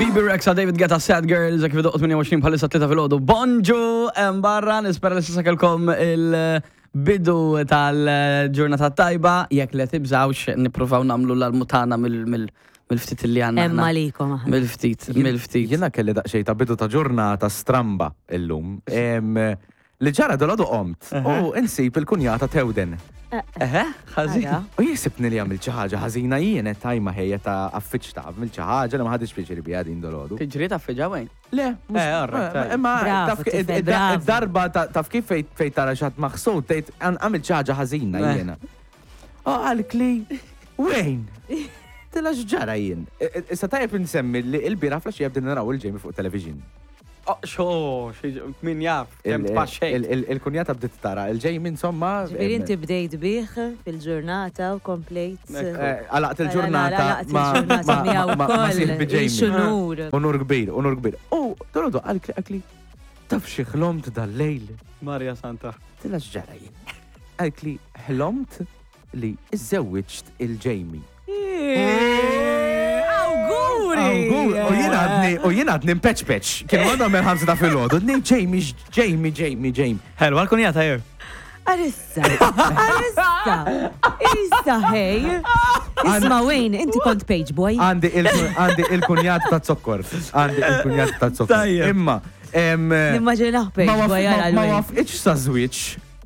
Bibi Rexa, David Guetta, Sad Girls, kif doqt 28 bħalissa 3 filgħodu. Bonġu, hemm barra, nispera li s'issa kellkom il-bidu tal-ġurnata tajba, jekk le tibżawx nippruvaw nagħmlu l-almutana mill-ftit li għandna. Hemm għalikom aħna. Mill-ftit, mill-ftit. Jiena kelli daqsxejn ta' bidu ta' ġurnata stramba illum. Em, Li ġara dolodu qomt u insib il-kunjata Tewden. Eħe, ħażin. Ara. U jisibni li għamilt xi ħaġa ħażina jien qed tajma ħejja ta' affiċ ta' għamilt xi ħaġa li ma ħadix pjaċir biha din dolodu. Tiġri ta' fiġa wejn. Le, mhux- Eh, all right, tajjeb. imma Bravo, taf ki- tifel, id- bravo. id-darba ta- taf kif fejn fejn tara xi ħadd maħsud tgħid "Għan- għamilt xi ħaġa ħażina Eh. jiena. U qalk li wejn. Tila x'ġara jien. I- i- Issa tajjeb insemmi li l-bieraħ flaxija bdejna naraw il-Jamie fuq television. Oh, xo, xi- min jaf, kemm tpaxxejt. Il- il- Il-kunjata bdiet tara il-Jamie insomma. Ġifieri em, inti bdejt bih fil-ġurnata u komplejt. Ekku. eh, Għalaqt il-ġurnata Għalaqt ma- il-ġurnata ma- miegħu ma- ma wkoll. sieħbi Jamie. Xunur. Unur kbir, unur kbir. U dolodu qalk li qalk taf xi ħlomt dal-lejl. Marja Santa. Tila x'ġara jien. Qalk li ħlomt li iżżewwiġt il-Jamie. Awguri! Awgur, U jien għadni, u jien għadni mpeċ peċ. Kienu għadhom minn ħamsa ta' filgħodu. Nej Jamie, Jamie, Jamie, Jamie. Hello, għal-kunjata jew. Arissa, arissa, issa hej. Isma Wayne, inti kont page boy. Għandi il- għandi il-kunjat ta' zokkor. Għandi il-kunjat ta' zokkor. Tajjeb. Imma, em, Nimmaġinaħ page ma boy waf- għara ma- ma l-Wayne. wafqitx sa' żwieġ.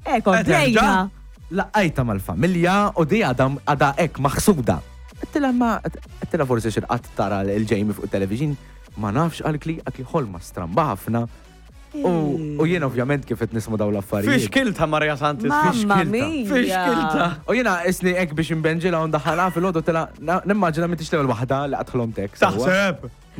Eh, komplejna. Laqajta mal-familja u di għadha għadha hekk maħsuda. Għedtilha ma għedtilha forsi xi qatt tara l-Jamie fuq television, ma nafx qalkli qaltli ħolma stramba ħafna. U u jien ovvjament kif qed nisma' dawn Fix l-affarijiet. kilta Marja Santis. Mamma kilta. mia. Fix kilta. U jiena isni hekk biex imbenġilha u ndaħħalha fil-għodu tela nimmaġina m'intix l-ewwel waħda li qatt ħlomtek. sewwa. Taħseb.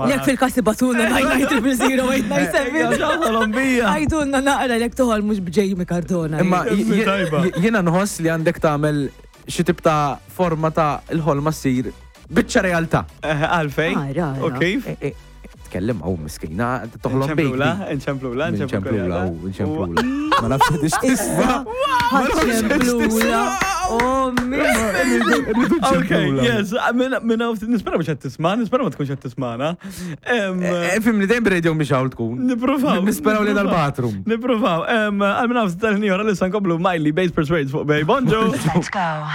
Jek fil-kasi batuna 9900897. Ġaħalom bija. Għajdulna naqra jek toħol mux b'Jamie Cardona. Imma Kemmi j- tajba. j- jiena nħoss li għandek tagħmel xi tip ta' forma ta' il-ħolma ssir biċċa realtà. Għalfej. Ara, ara. U kif? E- e- Tkellem għaw miskina, toħlom bik. Nċemplula, nċemplula, Nċemplula, u nċemplula. Ma nafx għadix tisma. Ħaċemplula. Oh, Rridu Ok, nċemplula. yes, minna nispera mux tisma, nispera ma tkunx qed tismana. Em, Fim li dejjem radio mhix hawn tkun. Nipruvaw. Nisperaw li nipruvaw. dal-bathroom. Nipruvaw. Għal minna ftit tal-ħin ieħor, issa nkomplu Miley Bass Persuades fuq Bay. Bonġu. Let's go.